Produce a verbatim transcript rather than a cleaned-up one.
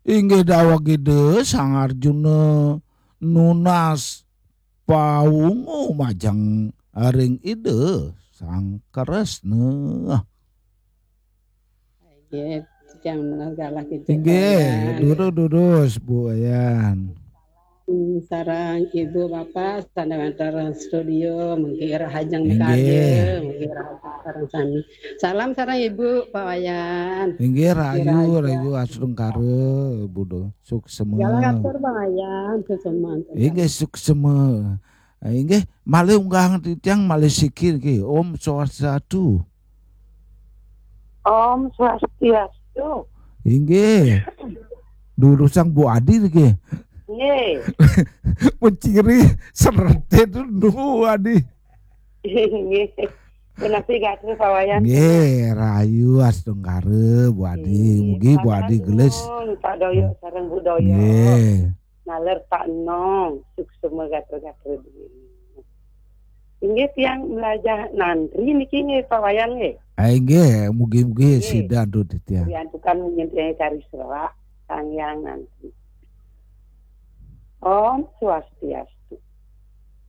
Inggih daweg Ida Sang Arjuna nunas pawungu majeng ring Ida Sang Kresna. Nggih, titiang nunas galah gitu. Inggih, durus-durus Bu Wayan. Hmm, sareng Ibu Bapak sané wénten studio, mugi rahajeng Inggih. Mikarya, mugi rahajeng sareng sami. Salam sareng Ibu Pak Wayan. Inggih rahayu, Rahayu. Rahayu Astungkara, Bu Do. Suksema. Galah atur Pak Wayan, suksema. Inggih suksema. Inggih malih unggahang titiang malih siki niki. Om Swastiastu. Om Swastiastu. Inggih. Durusang Bu Adi niki. Nggih. Menciri serete itu Bu Adi. Nggih. Punapi gatra Pak Wayan. Nggih, rahayu Astungkara Bu Adi. Mugi Bu Adi gelis. Pak Doyo sareng Bu Doyo. Nggih. Naler Pak Enong, suksema gatra-gatra duwin. Inggih tiang mlajah nantri niki nggih Pak Wayan nggih. Ah, inggih, mugi-mugi Nggih. Sida antuk titiang. Diantukan nyintiang kari serak, Sang Hyang Nantri. Om Swastiastu.